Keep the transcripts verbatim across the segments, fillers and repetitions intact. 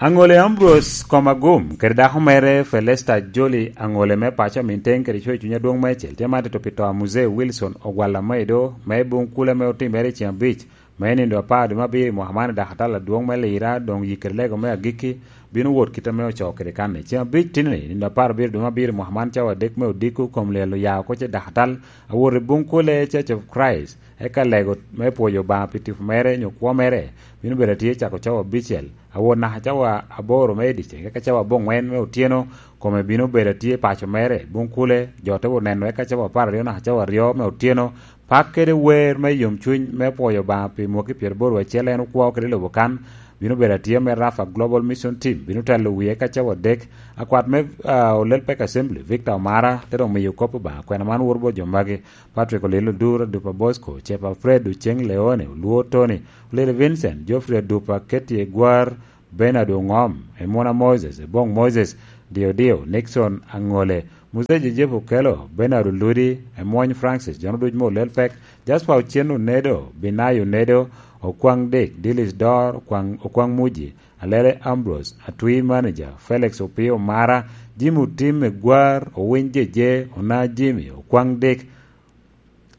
Aŋole Ambrose Komagum kede dako mere Felesta Joli, aŋole me paco Aminteng kede coc cuny adwoŋ meicel, tye ma tito pi to a Muzee Wilson Ogwal Amaido me buŋ kule ame otimere i ceng abic me nindo apar dwe me abiro i mwaka man i dakatal adwoŋ me Lira, doŋ yik kede lego me agikki bino wot kit ame ocoo kede kan-ni. Ceng abic tini-ni, nindo apar abiro dwe me abiro i mwaka man, cawa adek me odiko kom lyel oya oko ce dakatal awot i buŋ kule Church of Christ, eka lego me pwoyo Obaŋa pi tipo mere nyo kwo mere bino bedo atye cako cawa abicel awot naka cawa aboro me i dyeceng, eka cawa aboŋwen me otyeno kome bino bedo atye paco mere buŋ kule, jo te wot neno, eka cawa apar aryo naka cawa aryo me otyeno pak kede wer me yomcuny me pwoyo Obaŋa pi mwaki pyeraboro acel en okwo kede lobo kan, bino bedo atye me Rafa Global Mission Team, bino telo wie ka cawa adek. Akwat me ah, Olel Pek Assembly, Victor Omara, te dok miyo kop Obaŋa. Kwena man woro bot jo magi: Patrick Olelo Dura, Dupa Bosco, Cepa Fred, Oceng Leone, Oluo Tony, Olelo Vincent, Geoffrey Adupa, Ketty Egwar, Bernard Oŋom, Emuna Moses, Eboŋ Moses, Dio Dio, Nixon Aŋole, Muzee Joseph Okello, Bernard Oludi, Emwony Francis, jo ducu me Olel Pek, Jasper Ocen Onedo, Binayo Onedo, Okwaŋ Dick, Dilis Dor, Okwaŋ, Okwaŋ Muji, Alele Ambrose, Atwi Manager, Felix Opio Mara, Jim Otim Egwar, Owiny Jeje, Ona Jimmy, Okwaŋ Dick,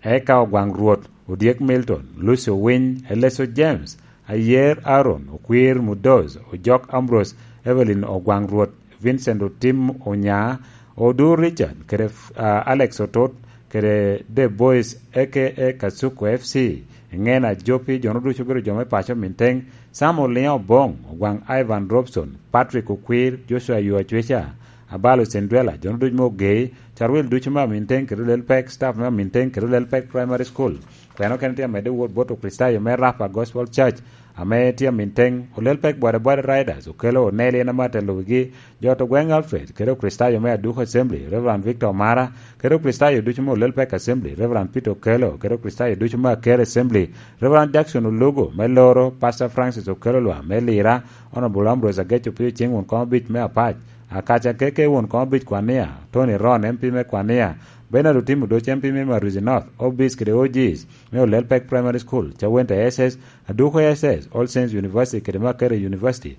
eka Ogwaŋ Rwot, Odyek Milton, Lucy Owiny, Eleso James, Ayer Aaron, Okwir Mudoz, Ojok Ambrose, Evelyn Ogwaŋ Rwot, Vincent Otim Onya, Odur Richard, kede ah, Alex Otot, kede The Boys, A K A Kasuku F C, Eŋena Jopi, jo ducu obedo jo me paco Minteng, Sam Oliŋo Oboŋ, Ogwaŋ Ivan Robson, Patrick Okwir, Joshua Yo Acweca, Abalo Cindwela, jo ducu me Ogei, Carwil ducu me Aminteng kede Olel Pek, staff me Aminteng kede Olel Pek Primary School. Kwena okene tye amedde wot bot Okricitayo me Rapa Gospel Church, ame tye Aminteng, Olel Pek Bwadabwada Riders, Okello Oneli en ame atelo wigi, jo to gweŋ Alfred, kede Okricitayo me Aduku Assembly, Reverend Victor Omara, kede Okricitayo ducu me Olel Pek Assembly, Reverend Peter Okello, kede Okricitayo ducu me Aker Assembly, Reverend Jackson Olugo me Loro, Pastor Francis Okello Lwam me Lira, Honorable Ambrose Ageco Pio Cing won komo abic me Apac, Akaca Keke won komo abic Kwania, Tony Ron M P me Kwania, Bernard Otim Odoc M P me Maruzi North, O Bs kede O Gs me Olel Pek Primary School, Cawente S S, Aduko S S, All Saints University kede Makerere University.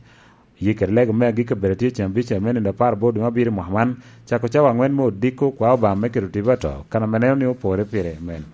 Yik kede lego me agikki obedo tye cen abicel me nino apar aboro dwe me abiro mwaka man, cako cawa aŋwen me odiko kwa Obaŋa me keto tipo ato, kan ame neno ni opore pire. Amen.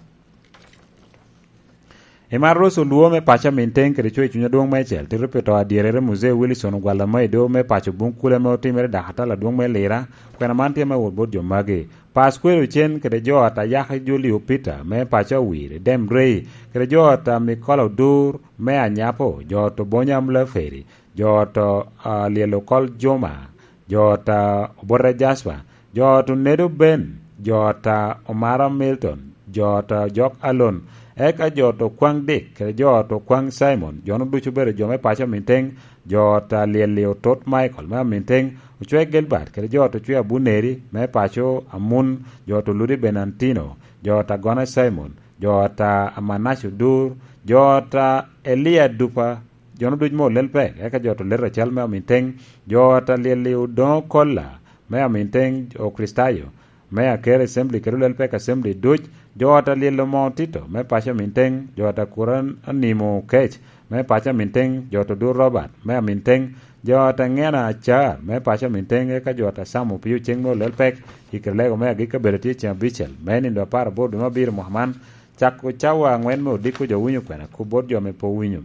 I mar Roc Olwo me paco Aminteng kede coc cuny adwoŋ meicel, tito pi to adyerere Muzee Wilson Ogwal Amaido me paco buŋ kule ame otimere i dakatal adwoŋ me Lira, kwena man tye me wot bot jo magi: Pasquero Ocen kede jo ata Yaki Julio Peter me paco Awiri, Dem Rei, kede jo ata Mikola Odur me Anyapo, jo ata Obonyo Amulaferi, jo ata ah, Lyel Okol Juma, jo ata Obote Jasper, jo ata Onedo Ben, jo ata Omara Milton, jo ata Jok Alon, eka jo ata Okwaŋ Dick kede jo ata Okwaŋ Simon, jo-nu ducu obedo jo me paco Aminteng, jo ata Lyel-li Otot Michael me Aminteng, Ocwe Gilbert kede jo ata Ocwe Abuneri me paco Amun, jo ata Oludi Benantino, jo ata Gona Simon, jo ata Amanac Odur, jo ata Elia Dupa, jo-nu ducu me Olel Pek, eka jo ata Olel Rachel me Aminteng, jo ata Lyel-li Odoŋo Kolla me Aminteng, Okricitayo me Aker Assembly kede Olel Pek Assembly duc, jo ata Lyel Omoŋo Tito me paco Aminteng, jo ata Kura Animo Kec me paco Aminteng, jo ata Odur Robert me Aminteng, jo ata Ŋena Acar me paco Aminteng, eka jo ata Sam Opio Ceng me Olel Pek, i kede lego me agikki obedo tye cen abicel me nindo apar aboro dwe me abiro mwaka man, cako cawa aŋwen me odiko jo winyo kwena kop bot jo ame pe owinyo.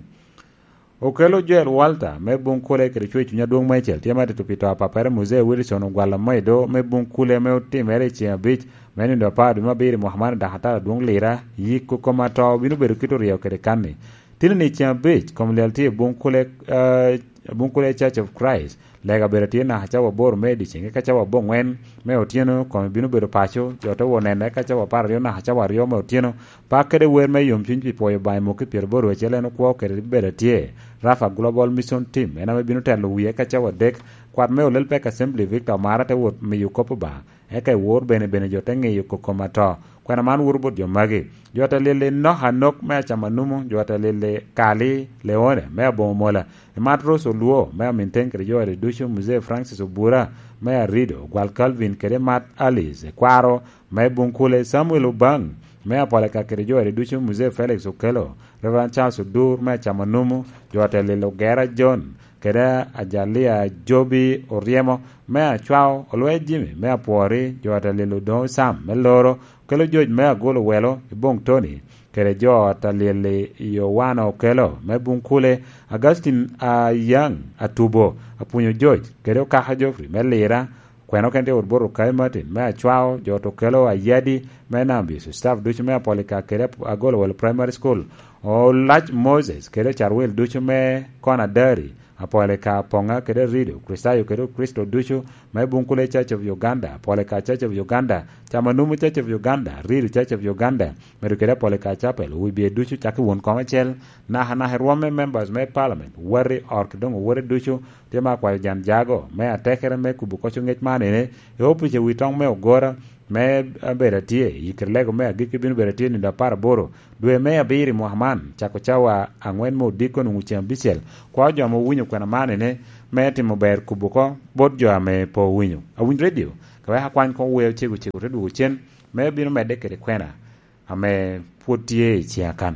Okello Joel Walter me buŋ kule kede coc cuny adwoŋ meicel tye ma tito pi to a papere Muzee Wilson Ogwal Amaido me buŋ kule ame otimere i cen abic me nindo apar dwe me abiro i mwaka man i dakatal adwoŋ Lira. Yiko kom ato bino bedo kit oryo kede kan-ni. Tini-ni cen abic kom lyel tye i buŋ kule, eh, buŋ kule Church of Christ. Lega bedo tye naka cawa aboro me dyeceng, eka cawa aboŋwen me otyeno kome bino bedo paco, jo te wot neno, eka cawa apar aryo naka cawa aryo me otyeno, pak kede wer me yomcuny pi pwoyo Obaŋa i mwaki pyeraboro acel en okwo kede bedo atye. Rafa Global Mission Team en ame bino telo wie, eka cawa adek, kwat me Olel Pek Assembly Victor Omara te wot miyo kop Obaŋa, eka i wor bene bene jo te ŋiyo kokom ato. Kwena man woro bot jo magi: jo ata Lyel Enok Anok me Acamanumu, jo ata Lyel Kali Leone me Aboŋo Mola, Emat Rose Olwo me Aminteng kede jo ata ducu, Muzee Francis Obura me Arido, Ogwal Calvin kede Emat Alice Kwaro me Buŋkule, Samuel Obaŋ me Apolaka kede jo ata ducu, Muzee Felix Okello, Reverend Charles Odur me Acamanumu, jo ata Lyel Ogera John, kede Ajalia Jobi Oryemo me Acwao, Olwe Jimmy me Apwori, jo Atalil Odoŋo Sam me Loro, kelo Joc me Agolo Welo i Boŋ Toni, kede jo Atalil i Owano Okelo me Buŋkule, Augustine Ayaŋ Atubo, Apwunyo Joc, kede Okaka Geoffrey me Lira, Kwene okene tye wot bot Okai Martin me Acwao, jo Tokelo Ayadi me Nambis, staff ducu me Apolika kede Ap-, Agolowelo Primary School, Olac Moses kede Carwil ducu me Konadari, Apolika Poŋa kede Rido, Kricitayo kede Kricito ducu me Buŋkule Church of Uganda, Apolika Church of Uganda, Camanumu Church of Uganda, Rido Church of Uganda, medo kede Apolika Chapel, owibye ducu cak i won koŋ acel, naka naka i rwom me members me Parliament, wati, ot, kede doŋ owote ducu, Tye me akwayo jan jago me atekere me kubo koc ŋec man ene, i opic a wi toŋ me Ogora, me abedo atye i kite lego me agikki bino bedo atye nino apar aboro dwe me abiro i mwaka man, cako cawa aŋwen me odiko nwoŋo ceŋ abicel. Kwa jo ame owinyo kwena man ene, me timo ber kubo oko bot jo ame pe owinyo. Awiny redio, ka wek akwany koŋ wer ocego cego te dwogo cen, me bino medde kede kwena ame pwod tye i ciŋa kan.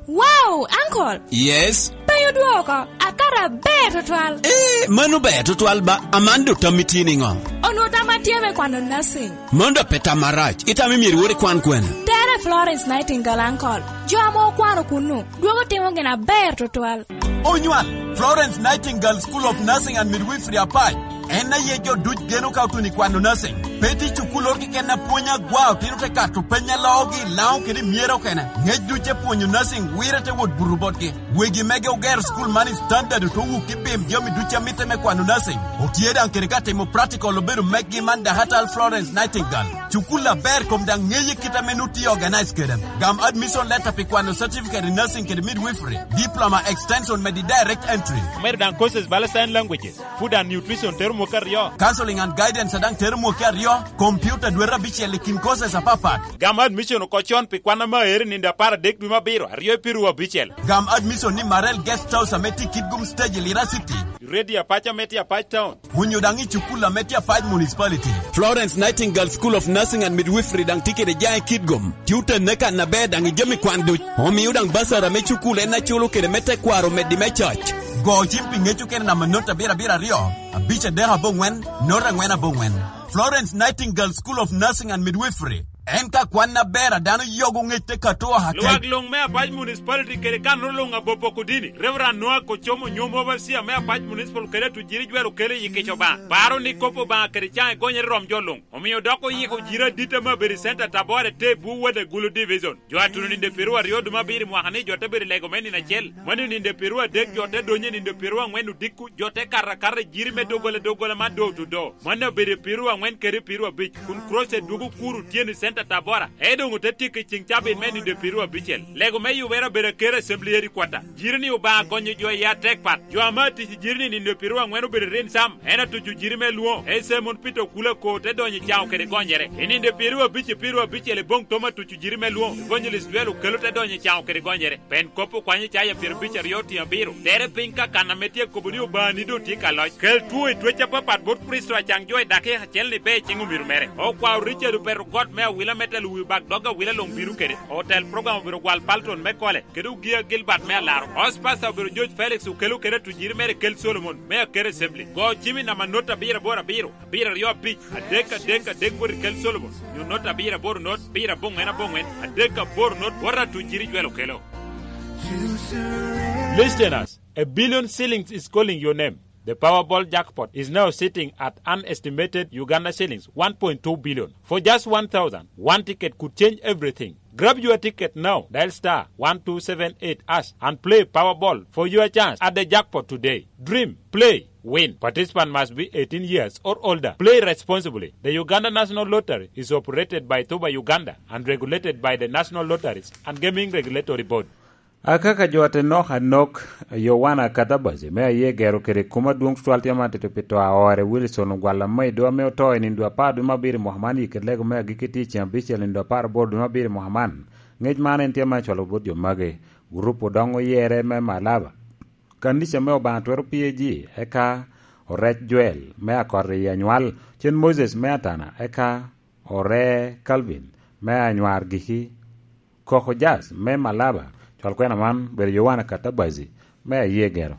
Wow, uncle! Yes? Penyo dwoko, akato aber tutwal. Eh, mano ber tutwal ba, aman do tammi tye niŋo? Onwo tamma tye me kwano nursing. Mano do pe tam arac, itamo myero iwor ikwan kwene? Tere Florence Nightingale, uncle. Jo ame okwano kunnu, dwogo timo gin aber tutwal. Onywal, Florence Nightingale School of Nursing and Midwifery Apac. En aye jo duc geno ka otuno i kwano nursing. Pe tye cukul oro keken a pwony agwa, otino te kato peny a loogi i Laŋo kede i Myera okene. Ŋec duc te pwonyo nursing wire te wot buto botgi. Wegi mege ogero cukul man i standard oto wuk i bim jami duc a mitte me kwano nursing. Otye daŋ kede ka timo practical obedo mekgi man Dakatal Florence Nightingale. Cukul aber kom daŋ ŋeye kit ame nu tye organize kede. Gam admission letter pi kwano certificate in nursing kede midwifery, diploma extension medi direct entry. Omedo daŋ courses bala sign languages. Food and nutrition tero mwaka aryo. Counseling and guidance a daŋ tero mwaka aryo. Computer dwete abicel i kin courses apapat. Gam admission oko con pi kwan ame aero i nino apar adek dwe me abiro, aryo i piru abicel. Gam admission ni Marel Guest House ame tye i Kitgum Stage i Lira City. Radio Apac ame tye Apac Town. Onyo daŋ i cukul ame tye Apac Municipality. Florence Nightingale School of Nursing and Midwifery daŋ tye kede jaŋ i Kitgum. Tye otenne kan aber daŋ i jami kwan duc. Omio daŋ basara me cukul en aculo kede me tekwaro omeddi me cac. Go cim pi ŋec okene namba not abiro abiro aryo, abic adek aboŋwen, not angwen aboŋwen. Florence Nightingale School of Nursing and Midwifery. En ka kwan aber a dano yogo ŋec te kato oha kec. Lwak luŋ me Apac Municipality kede kanno luŋ abopo Kudini, Reverend Noah Kocomo Nyom, Overseer me Apac Municipal kede Atujiri Jwel Okelo i Kica Obaŋa. Paro ni kop Obaŋa kede caŋ egonyere rom jo luŋ. Omio dok oyiko jiri adit ame abedo i Center Tabora te Buwada Gulu Division. Jo a tuno nino pyeraryo dwe me abiro i mwaka ni jo te bedo i lego me nino acel. Mano nino pyeraryo adek jo te donyo i nino pyeraryo angwen odiko, jo te kato akata i jiri me doggola doggola man door to door. Mano obedo pyeraryo angwen kede pyeraryo abic, kun crusade dwogo kuro otyeno i Center Tabora, ento doŋ ote tyeko i ceŋ cabit me nino pyeraryo abicel. Lego me yubere obedo Akero Assembly Headquarter. Jiri ni Obaŋa gonyo jo i atek pat. Jo ame atic i jiri ni nino pyeraryo angwen obedo rin sam, en atuco jiri me lwoŋo, Ese Mon Peter Okula Ko te donyo i caŋo kede gonyere. I nino pyeraryo abic i pyeraryo abicel i boŋ Tom atuco jiri me lwoŋo, Evangelist Dwel Okelo te donyo i caŋo kede gonyere. Pen kop okwanyo caya pyerabic aryo otiŋ abiro. Tere piny ka kan ame tye akobo ni Obaŋa ni doŋ tye ka loc. Kel two i twec apapat bot Kricito acaŋ jo i dakika acel ni be i ciŋ omiro mere. Okwao Richard Opeto Got me Awila me telo wi bak dog Awila luŋ bino kede. Otel program obedo Gwal Palton me Kole, kede Ogia Gilbert me Alaro. Host Pastor obedo George Felix Okelo kede atujiri mere Kel Solomon me Akero Assembly. Go cim i namba not abiro aboro abiro, abiro aryo abic, adek adek adek bot i Kel Solomon, nyo not abiro aboro not, abiro aboŋwen aboŋwen, adek aboro not, bot atujiri Jwel Okelo. Listeners, a billion shillings is calling your name. The Powerball jackpot is now sitting at an estimated Uganda shillings one point two billion. For just one thousand, one ticket could change everything. Grab your ticket now. Dial star one two seven eight hash and play Powerball for your chance at the jackpot today. Dream, play, win. Participant must be eighteen years or older. Play responsibly. The Uganda National Lottery is operated by Tuba Uganda and regulated by the National Lotteries and Gaming Regulatory Board. Akaka jo a te nok anok, Yowana Katabazi, me aye gero kede kum adwoŋ tutwal tye man tito pi to a ore Wilson Ogwal Amaido ame oto i nino dwe apar dwe me abiro i mwaka man i kede lego me agikki tye i ceŋ abicel nino dwe apar aboro dwe me abiro i mwaka man. Ŋec man en tye me acwalo bot jo magi. Gurup odoŋ oyere me Malaba, Kanica me Obaŋa Twero P A G, eka Orec Joel me Akot i Anywal, Cen Moses me Atana, eka Ore Calvin me Anywar Giki, Koko Jazz me Malaba, Cwal kwena man bedo Yowana Katabazi me Aye Gero.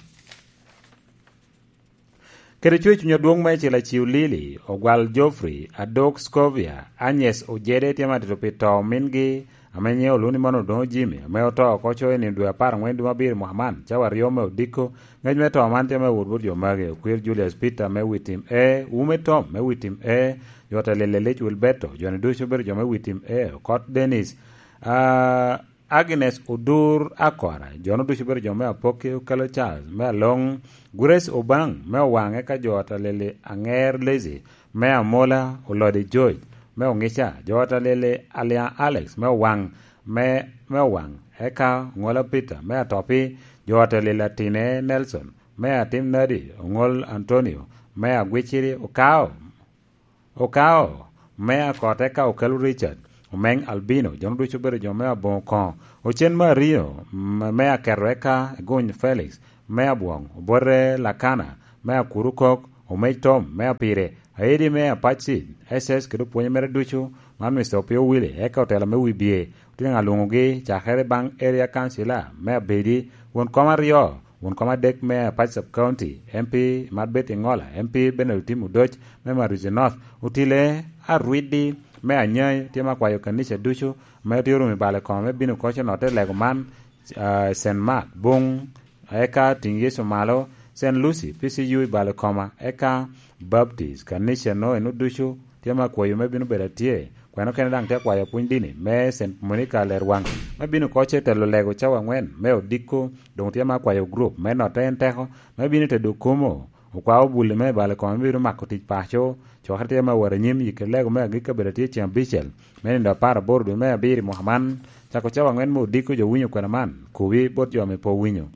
Kede cwer cuny adwoŋ meicel, Aciu Lili, Ogwal Geoffrey, Adok Scovia, Agnes Ojede tye ma tito pi to mingi, ame nyiŋe oluni man Odoŋo Jimmy, ame oto oko coyo i nino dwe apar aŋwen dwe abiro mwaka man, cawa aryo me odiko. Ŋec me to man tye me wot bot jo magi, Okwir Julius Peter me Witim A, Wume Tom me Witim A, jo Talil Elic Wilberto, jo-ni ducu obedo jo me Witim A, Okot Dennis, ah, Agnes Odur Akora, jo-nu ducu obedo jo me Apoki, Okelo Charles me Aloŋ, Grace Obaŋ me Owaŋ, eka jo Talil Aŋer Lazy me Amola, Olode George me Oŋica, jo Talil Aliaŋ Alex me Owaŋ, me, me Owaŋ, eka Oŋola Peter me Atopi, jo Talil Atine Nelson me Atim Nadi, Oŋol Antonio me Agwiciri, Okao, Okao me Akot, eka Okelo Richard, Omeŋ Albino, jo-nu ducu obedo jo me Aboŋo Koŋo, Ocen Mario, m-, me Aketo, eka Eguny Felix me Abwoŋ, Obote Lakana me Akuru Kok, Omec Tom me Apire, Aedi me Apacid, S S kede opwonye mere ducu, man Mister Opio Willy, eka otela me Wibye, Otyeno alwoŋogi cakere baŋ Area Councilor me Abedi, won kom aryo, won kom adek me Apac Sub County, M P Marbet Iŋola, M P Bernard Otim Odoc me Maruzi North, Otile Arwidi me Anyai, tye ma kwayo kanica ducu ame tye orumo i bal i kome me bino koco notte i lego man, ah, Saint Mark, Buŋ, eka Tiŋ Yecu Malo, Saint Lucy, P C U i bal i koma, eka Baptist, kanica-nu eno ducu tye ma kwayo me bino bedo atye. Kweno kene daŋ tye akwayo pwony dini me Saint Monica Lerwaŋ, me bino koco i telo lego cawa aŋwen me odiko, doŋ tye ma akwayo gurup me notte en teko, me bino i tedo kumo, okwa obulli me balo kome me bino mako tic paco, cokere tye me wot anyim, yikki lego me agikki abedo atye ceŋ abicel, me nino apar aboro dwe me abiro i mwaka man, cako cawa aŋwen me odiko jo winyo kwena man, kobi bot jo ame pe owinyo.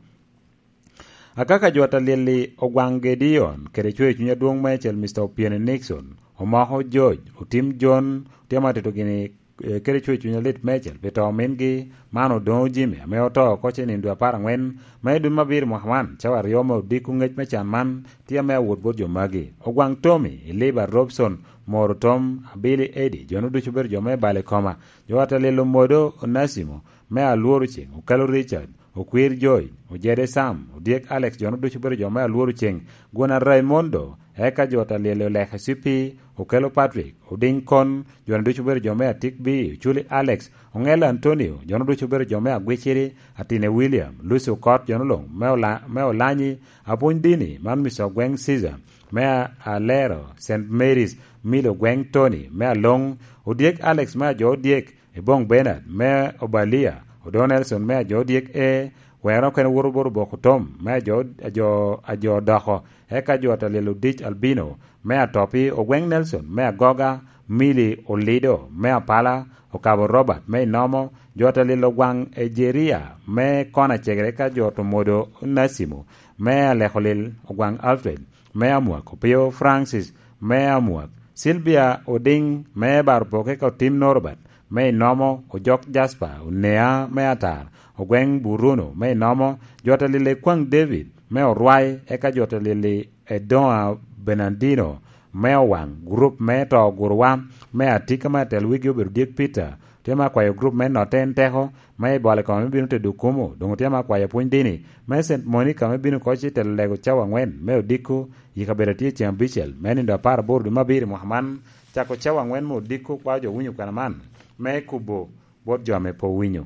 Akaka jo Atalil-li Ogwaŋ Gedeon kede cwer cuny adwoŋ meicel Mister Opiene Nixon, Omoko George, Otim John, tye ma tito gini, eh, kede cwer cuny alit meicel pi to mingi, man Odoŋo Jimmy, ame oto oko ce nino dwe apar aŋwen me dwe me abiro mwaka man, cawa aryo me odiko. Ŋec me can man tye ame awot bot jo magi: Ogwaŋ Tommy, Eliba Robson, Moro Tom, Abili Eddie, jo-nu ducu obedo jo me balo i koma, jo Atalil Omodo Onasimo, me Alworo Ceŋ, Okelo Richard, Okwir Joy, Ojede Sam, Odyek Alex, jo-nu ducu obedo jo me Alworo Ceŋ, Gwona Raimondo, eka jo Atalil Oleke Cipi, Okelo Patrick, Odiŋ Kon, jo-nu ducu obedo jo me Atik B, Oculi Alex, Oŋel Antonio, jo-nu ducu obedo jo me Agwiciri, Atine William, Lucy Okot, jo-nu luŋ me Ola-, me Olanyi, Apwony Dini, man Mister Ogweŋ Caesar, me A-, Alero, Saint Mary's, Milo Ogweŋ Tony, me Aloŋ, Odyek Alex, me Ajo Odyek, Eboŋ Bernard me Obalia, Odo Nelson me Ajo Dyek E, Wero okene woto bot Oboko Tom me Ajo, Ajo, Ajo Doko, eka jo Atalil Odic Albino me Atopi, Ogweŋ Nelson me Agoga, Mili Olido me Apala, Okabo Robert me Inomo, jo Atalil Ogwaŋ Ejeria me Kona Cegere, eka jo Tomodo Nasimo me Alekolil, Ogwaŋ Alfred me Amwak, Opio Francis me Amwak, Silvia Odiŋ me Barpok, eka Otim Norbert me Inomo, Ojok Jasper Onea me Atar, Ogweŋ Buruno me Inomo, jo Atalil Ekwaŋ David me Orwai, eka jo Atalil Edoŋa Bernardino me Owaŋ, gurup me To Ogurowa me Atika me Atel, wigi obedo Dyek Peter, tye me akwayo gurup me Notte en Teko, me i bolo i kome me bino tedo kumo, doŋ otye me akwayo pwony dini, me Saint Monica me bino koc i telo lego cawa aŋwen me odiko, i kabedo atye ceŋ abicel, me nino apar aboro dwe me abiro i mwaka man, cako cawa aŋwen me odiko, kwao jo winyo kwena man, me kubo bot jo ame pe owinyo.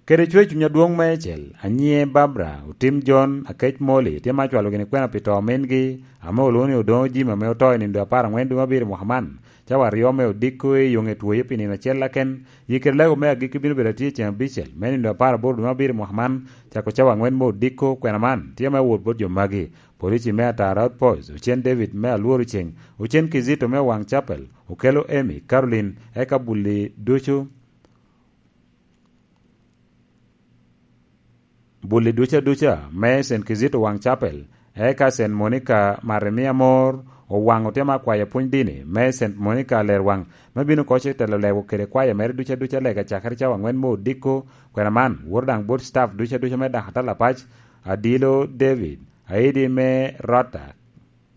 Kede cwer cuny adwoŋ meicel, anyiŋe Barbara, Otim John, Akec Molly, tye ma acwalo gini kwena pi to mingi, ame olwoŋo ni Odoŋo Jim ame oto i nino dwe apar aŋwen dwe me abiro i mwaka man, cawa aryo me odiko i yoŋe twoye pi nino acel aken, Yikere lego me agikki bino bedo atye ceŋ abicel, me nino apar aboro dwe me abiro mwaka man, cako cawa aŋwen me odiko. Kwena man tye me wot bot jo magi: Polici me Atara Outpost, Ocen David me Alworo Ceŋ, Ocen Kizito me Owaŋ Chapel, Okelo Amy, Caroline, eka bulli ducu, bulli ducu aduca me Saint Kizito Waŋ Chapel, eka Saint Monica Marimia Mor Owaŋ otye me akwayo pwony dini me Saint Monica Lerwaŋ, me bino koc i telo lego kede kwayo mere ducu aduca lega cakere cawa aŋwen me odiko. Kwena man woto daŋ bot staff ducu aduca me Dakatala Pac, Adilo David, Aidi me Rota,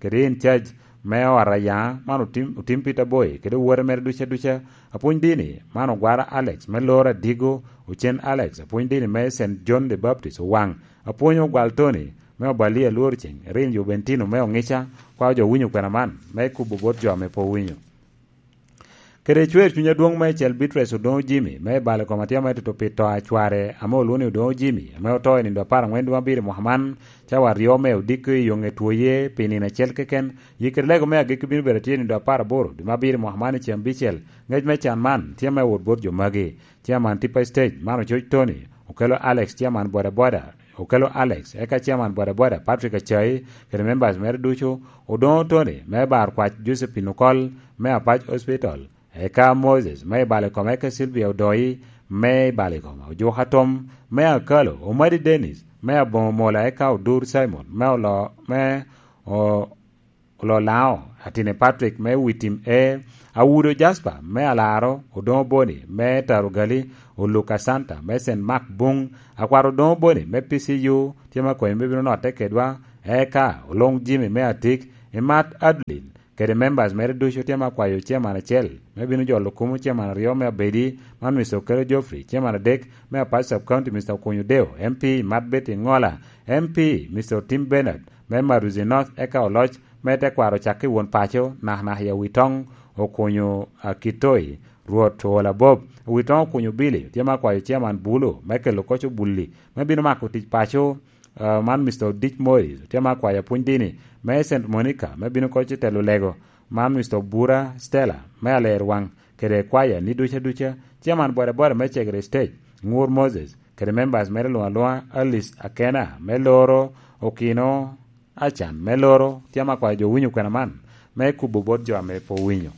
kede in charge me ot Ayaŋa, man otim, otim Peter Boy, kede owote mere duca duca, apwony dini, man Ogwara Alex, me Loro Adigo, Ocen Alex, apwony dini me Saint John the Baptist, Owaŋ, apwony Ogwal Tony, me Obalia Lworo Ceng, Erin Jubentino me Oŋica, kwao jo winyo kwena man, me kubo bot jo ame pe owinyo. Kede cwer cuny adwoŋ meicel Beatrice Odoŋo Jimmy, me i balo kom atyama i tutu pi to a cware ame olwoŋo ni Odoŋo Jimmy, ame oto i nindo apar aŋwen dwe abiro i mwaka man, cawa aryo me odiko i yoŋe twoye pi nino acel keken, yikere lego me agikki bino bedo atye i nindo apar aboro dwe me abiro i mwaka man i ceng abicel. Ngec me can man tye me wot bot jo magi. Chairman Tipa Stage, man Ococ Tony, okelo Alex, Chairman Boda Boda, okelo Alex, eka Chairman Boda Boda, Patrick Acai, kede members mere ducu, Odoŋo Tony, me Bar Kwac Josephine Okol, me Apac Hospital, eka Moses, me i balo kome, eka Sylvia Odoi, me i balo kome, Ojuka Tom, me Akalo, Omadi Dennis, me Aboŋo Mola, eka Odur Simon, me olo, me o-, Ololao, Atine Patrick me Witim E, Awudo Jasper me Alaro, Odoŋo Boni me Tarugali, Oluka Santa me Saint Mark Buŋ, Akwaro Odoŋo Boni me P C U, tye me akonyo me bino notte kedwa, eka Oluŋ Jimmy me Atik, Imat Adeline, kede members mere ducu tye me akwayo chairman acel, me bino jolo kumo chairman aryo me Abedi, man Mister Okello Geoffrey, chairman adek, me Apac Sub County, Mister Okunyu Deo, M P, Imat Betty Ŋola, M P, Mister Tim Bernard, me Maruzi North, eka Oloc, me tekwaro ocakke i won paco, nakanaka i Awitoŋ, Okunyu Akitoi, Rwot Ool Abob, Awitoŋ Okunyu Billy, tye me akwayo chairman Bulu, me kelo koc obulli, me bino mako tic paco, ah, man Mister Odic Morris, tye me akwayo apwony dini, me Saint Monica, me bino koc i telo lego, man Mister Obura Stella, me Alerwaŋ, kede kwaya ni duca duca, chairman boda boda me Cegere Stage, Ŋur Moses, kede members mere luŋ aluŋa, Alice Akena, me Loro, Okino, Acan, me Loro, tye me akwayo jo winyo kwena man, me kubo bot jo ame pe owinyo.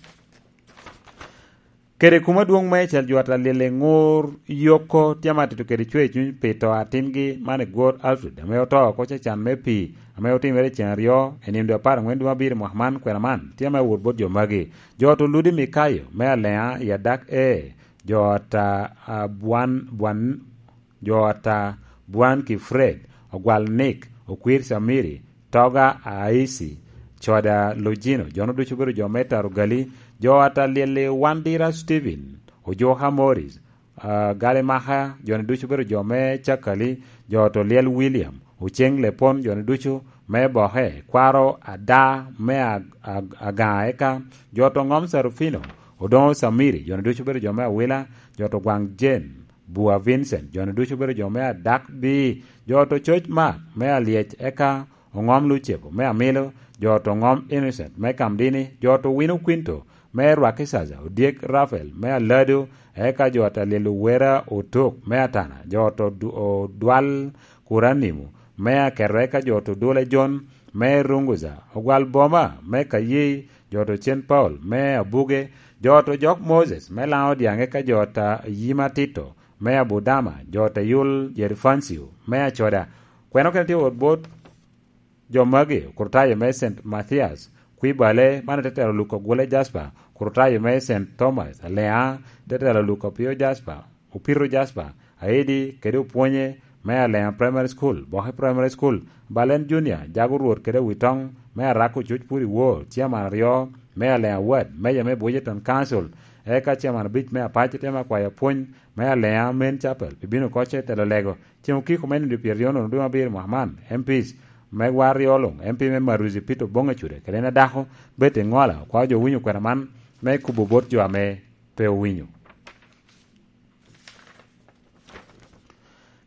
Kede kumo adwoŋ meicel jo ata lyel i Ŋur Yoko, tye me atito kede cwer cuny pi to atingi man i Gwor Alfred, ame oto oko cacan me pii, ame otimere i ceng aryo, i nino dwe apar aŋwen dwe abiro i mwaka man, kwena man, tye me wot bot jo magi. Jo ot Oludi Mikayo, me Aleŋa, i Adak E, jo ata, a, Bwan, Bwan, jo ata Bwan ki Fred, Ogwal Nick, Okwir Samiri, Toga Aisi, Coda Lojino, jo-nu ducu obedo jo me Tarugali, jo ata lyel i Wandira Stephen, Ojuka Morris, ah, Galimaka, jo-ni ducu obedo jo me Cakali, jo ot Olyel William, Oceng Lepon, jo-ni ducu me Boke, kwaro Ada me Ag-, Ag-, Agaŋa, eka jo ot Oŋom Sarufino, Odoŋo Samiri, jo-ni ducu obedo jo me Awila, jo ot Ogwaŋ Jane, Bua Vincent, jo-ni ducu obedo jo me Adak Bii, jo ot Ococ Mark me Alyec, eka Oŋom Lucebo me Amilo, jo ot Oŋom Innocent me Kamdini, jo ot Owino Quinto me Rwakicaca, Odyek Rafael me Alado, eka jo ot Alyel Owera Otok me Atana, jo ot Odu-, Odwal Kuranimo me Aketo, eka jo ot Odula John me Runguza, Ogwal Boma me Kayi, jo ot Ocen Paul me Abuge, jo ot Ojok Moses me Laŋo Odyaŋ, eka jo ot Ayima Tito me Abudama, jo ot Ayul Jerifancio me Acoda. Kweno kene tye wot bot jo magi, Okurutayo me Saint Mathias, Kwibale, man tetelo Luka Gwole Jasper, Okurutayo me Saint Thomas, Aleŋa, tetelo Luka Pio Jasper, Opito Jasper, Aidi, kede Opwonye me Aleŋa Primary School, Boke Primary School, Balen Junior, Jago Rwot kede Witoŋ me Arako Coc Puri Wor, Chairman aryo me Aleŋa Ward, Meja me Bujeton Council, eka Chairman abic me Apac, tye me akwayo apwony me Aleŋa Main Chapel, pi bino koc i telo lego, Ceŋ okiko me nino pyeraryo nono dwe abiro mwaka man, M Ps me war ryo luŋ, M P me Maruzi Peter Oboŋ Acuda, kede en adako, Betty Ŋola, okwao jo owinyo kwena man me kubo bot jo ame pe owinyo.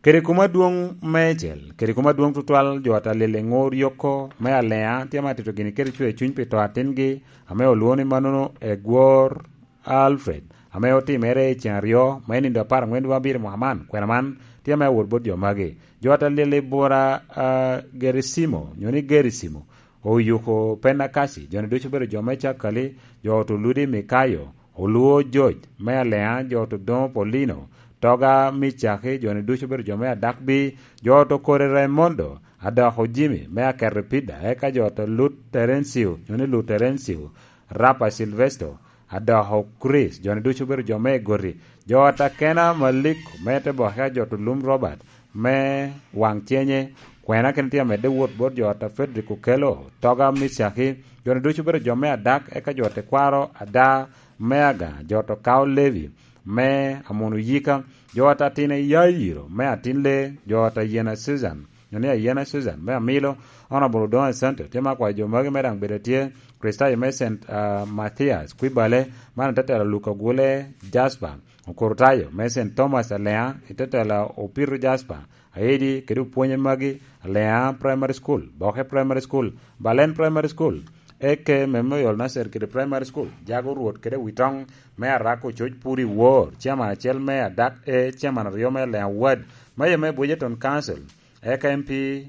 Kede kumo adwoŋ meicel, kede kumo adwoŋ tutwal, jo ata lyel i ŋur yoko me Aleŋa tye ma tito gini kede cwer cuny pi to atingi, ame olwoŋo ni mannono Egwor Alfred, ame otimere i ceŋ aryo, me nindo apar aŋwen dwe abiro mwaka man, kwena man tye me awot bot jo magi. Jo ata lyel i bura, ah, Gerisimo, nyo ni Gerisimo, oyuko Penakasi, jo-ni ducu obedo jo me Cakali, jo ot Oludi Mikayo, Oluo George, me Aleŋa, jo ot Odoŋo Paulino, Toga Micaki, jo-ni ducu obedo jo me Adakbi, jo ot Okore Raimondo, Adoko Jimmy, me Aketo Pida, eka jo ot Lut Terencio, nyo ni Lut Terencio, Rapa Silvesto, Adoko Chris, jo-ni ducu obedo jo me Egoti, jo ot Akena Maliko, me Teboka, jo ot Olum Robert, me Waŋ Cenye, Kwena kene tye amedde wot bot jo ata Frederick Okello, Toga Miscaki, jo-ni ducu obedo jo me Adak, eka jo ata Kwaro Ada me Aga, jo ata Kao Levi me Amun Oyika, jo ata Tine Yairo me Atin Le, jo ata Yena Susan, nyo ni Ayena Susan me Amilo, Honorable Odongo Asante, tye ma akwayo jo magi me daŋ bedo tye, Kristayo me Saint, ah, Mathias, Kwibale, man te telo Luka Gule Jasper, Okurutayo me Saint Thomas Alea, te telo Opiro Jasper, Aedi kede opwonye magi, Alea Primary School, Boke Primary School, Balen Primary School, Eke Memorial Nursery kede Primary School, Jago Rwot kede Witoŋ me Arako Coc Puri Wor, Chairman acel me Adak A, Chairman aryo me Alea Ward, Mayor me Bwejeton Council, eka M P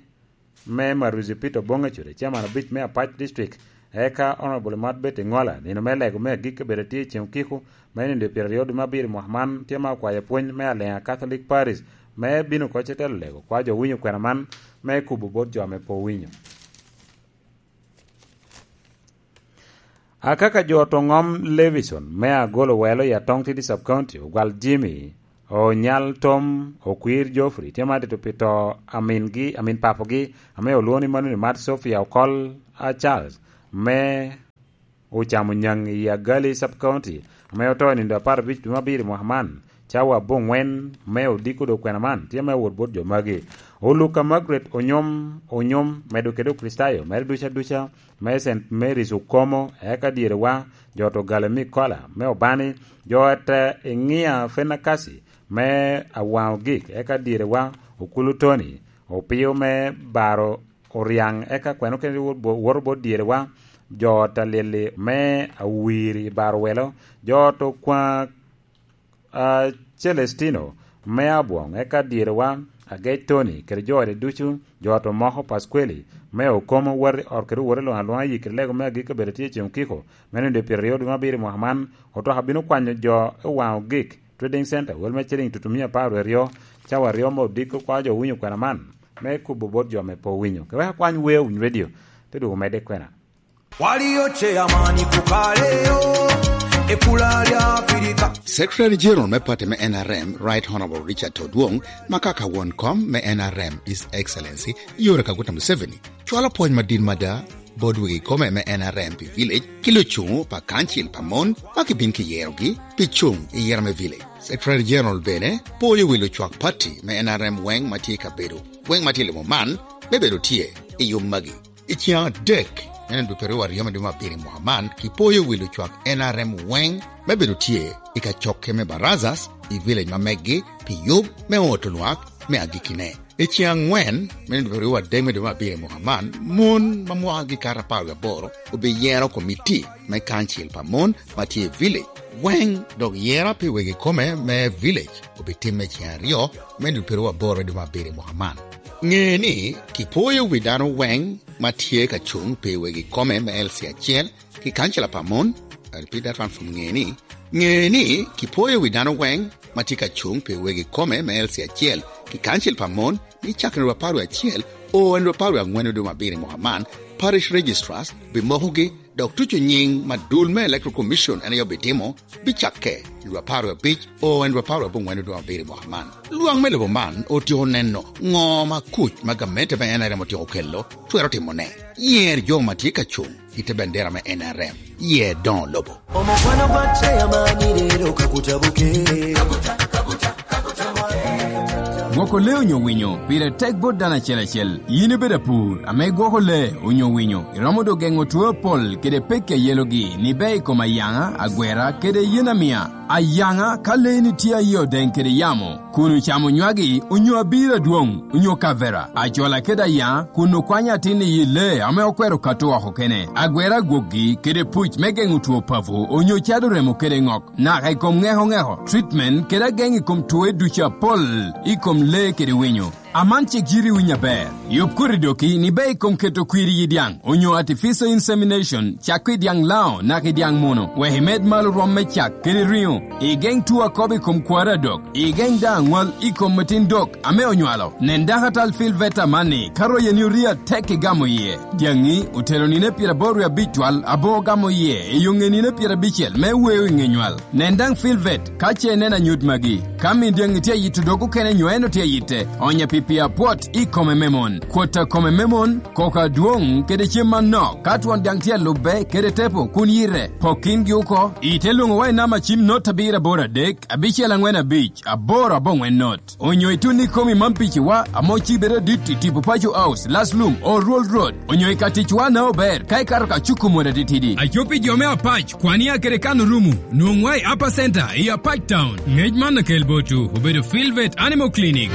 me Maruzi Peter Oboŋ Ecure, Chairman abic me Apac District, eka Honorable Mat Betty Ŋola, nino me lego me agikki obedo tye i ceŋ okiko, me nino pyeraryo dwe me abiro i mwaka man, tye ma okwayo pwony me Alea Catholic Parish, me bino oko ce telo lego, kwa jo winyo kwena man, me kubo bot jo ame pe owinyo. Akaka jo to ŋom Levison me Agolo Welo i Atong Tidi Sub County, Ogwal Jimmy, Onyal Tom, Okwir Geoffrey, tye ma tito pi to amingi, amin papogi, ame olwoŋo ni mano ni Mat Sophia Okol, a, Charles, me ocamo nyaŋ i Agali Sub County, ame oto i nino apar abic dwe me abiro i mwaka man, cawa aboŋwen me odiko dok kwena man, tye me wot bot jo magi. Oluka Margaret Onyom, Onyom, medo kede Okricitayo mere duca duca, me Saint Mary's Okomo, eka dyere wa, jo to Galemi Kola, me Obani, jo ata Eŋia Fenakasi, me Awaŋo Gik, eka dyere wa, Okulu Tony, Opio me Baro Oriaŋ, eka kweno kene wot bo-, woto bot dyere wa, jo ata Lili me Awiri i Baro Welo, jo to Kwa-, a, Celestino me Abwoŋ, eka dyere wa, Agec Tony, kede jo ode ducu, jo to moko Pasqueli, me Okomo wati ot kede wot i luŋ aluŋa yi kede lego me agikki obedo tye i ceŋ okiko, me nino dwe pyeraryo dwe me abiro i mwaka man, otoka bino kwanyo jo i Waŋo Gik Trading Center, wel me ciling tutumia apar wie aryo, cawa aryo me odiko kwa jo winyo kwena man, me kubo bot jo me pe owinyo. Ke wek akwany wer Winy Radio, te dwogo medde kwena. Waliyo chairman kukaleyo, ekula lya Afirika. Secretary General me party me N R M, Right Honorable Richard Todwong, makaka won kom me N R M, His Excellency Yoweri Kaguta Museveni, cwalo pwony madit mada bot wegi kome me N R M pi village, ki lucuŋo pa kancil pa mon ma kibin kiyerogi pi cuŋ i yero me village. Secretary General bene poyo wi lucwak party me N R M weŋ ma tye i kabedo, weŋ ma tye i lobo man, me bedo tye i yub magi. I ciaŋ adek, en en dwe peryo aryo me dwe me abiro i mwaka man, kipoyo wi lucwak N R M weŋ me bedo tye i kacokke me Barazas i village ma meggi pi yub me oto lwak me agikkine. I ciaŋ aŋwen, me dwe peryo adek me dwe me abiro i mwaka man, mon ma mwakgi kato apar wie aboro obiyero komiti me kancil pa mon ma tye i village weŋ, dok yera pi wegi kome me village obitimme i ciaŋ aryo me dwe peryo aboro me dwe me abiro i mwaka man. Ŋe ni, kipoyo wi dano weŋ ma tye ka cuŋ pi wegi kome me L C acel ki kancila pa mon, I repeat that one from ŋe ni, ŋe ni kipoyo wi dano weŋ ma tye ka cuŋ pi wegi kome me L C acel ki kancil pa mon, ni cakere dwe apar wie acel o en dwe apar wie aŋwen dwe me abiro i mwaka man, parish registrars bimokogi, dok tuco nyiŋ ma dul me Electoral Commission en aye obitimo, bicakke i dwe apar wie abic o en dwe apar wie aboŋwen dwe me abiro i mwaka man. Lwak me lobo man otyeko neno ŋo ma kuc ma gamente me N R M otyeko kelo twero timone. Yer jo ma tye ka cuŋ i te bendera me N R M, yer doŋo lobo. Omukwano gwa chairman leero Kaguta Bukedde. Gwoko lee onyo winyo pire tek bot dano acel acel. Yin ibedo apur ame igwoko lee onyo winyo, iromo dok geŋo two apol kede pekki a yelogi ni bea i kom ayaŋa, agwera, kede yen amia. Ayaŋa, ka leeni tye aye odeŋ kede yamo, kun ocamo nywagi, onyo abiro adwoŋ, onyo kavera, acola kede ayaŋa, kun okwanyo atin i yi lee ame okwero kato oko kene, agwera agwokgi, kede puc me geŋo two papo, onyo cado remo kede ŋok, naka i kom ŋeko ŋeko, treatment, kede ageŋ i kom twoe ducu apol, i kom lee kede winyo. Aman cik yiti winyo aber. Yub koti doki ni bea i kom keto kwir i yi dyaŋ, onyo artificial insemination, cak i dyaŋ lao, naka i dyaŋ muno, wek imed malo rwom me cak kede riŋo. Igeŋ two akobo i kom kwaro adok. Igeŋ daŋ aŋwal i kom metin dok ame onywalo. Nen dakatal Phil Veta amanni, ka royeni orii atek igamo iye. Dyaŋi otelo nino pyeraboro wie abic twal aboŋo gamo iye, i yo ŋe nino pyerabicel me weo i ŋe nywal. Nen daŋ Phil Vet ka ce ineno anyut magi. Ka min dyaŋi tye ayito dog okene nyo en otye ayitte, onye pi Pi apwot i kome me mon, kwot a kome me mon, koko adwoŋ kede cem anok. Ka twon daŋ tye alubbe kede tepo kun yite, pok kingi oko. Ite lwoŋowa i namba cim not abiro aboro adek, abicel aŋwen abic, aboro aboŋwen not. Onyo itun i kom i Mampiciwa, ame ocibe adit i tipo Paco House, Last Lum, Old Road, onyo i ka ticwa na ober, ka ikato ka cuko mot atitidi. Aco pi jo me Apac, kwan i akere kan orumo, nwoŋwa i Upper Center, i Apac Town. Ngec man okel botwu, obedo Filvet Animal Clinic.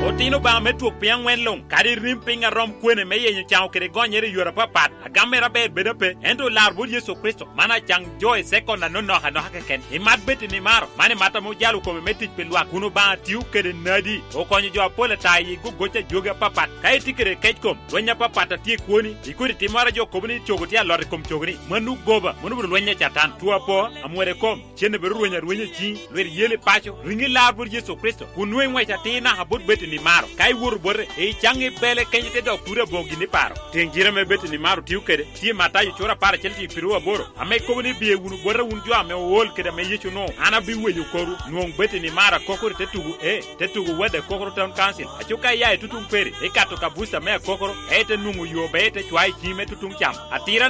Otino Obaŋa me twok piny aŋwen luŋ, kadi rim piny a rom kwene me yenyo caŋo kede gonyere i yore apapat, agam mere aber bedo ape, ento lar bot Yecu Kricito, man acaŋ jo i sekon anonok anoka keken. Imat bed i nimaro, man imat ame ojalo kome me tic pi lwak, kun Obaŋa tio kede nadi, okonyo jo apol ata i gogoc a jogi apapat. Ka itye kede kec kom, lweny apapat atye i kwoni, ikodi timmoro a jo kobo ni cogo tye alot i kom cogoni, mano goba, mano obedo lweny a Catan. Two apo, amwode kom, cen obedo rweny arwenya i ciŋi, lwit yel i paco, riŋi lar bot Yecu Kricito, kun nwoŋo iŋwec atir naka bot bed i nimaro. Ka iwoto bote, icaŋ i bele kenyo ite dok turi aboŋo gin iparo. Teŋ jiro ame bed i nimaro tio kede, tye Matayo cura apar acel tye i piru aboro, ame kobo ni, "Biye wunu bota wun jo ame ool kede ame Yecu onwoŋo, an abiweyo korwu." Nwoŋ bed i nimaro akokoro i te tugo, ee, te tugo Wade Akokoro Town Council. Aco ka iya i tutuŋ Peri, ikato ka buca me Akokoro, ite nwoŋo yo be ite cwa i ciŋi me tutuŋ cam. Atira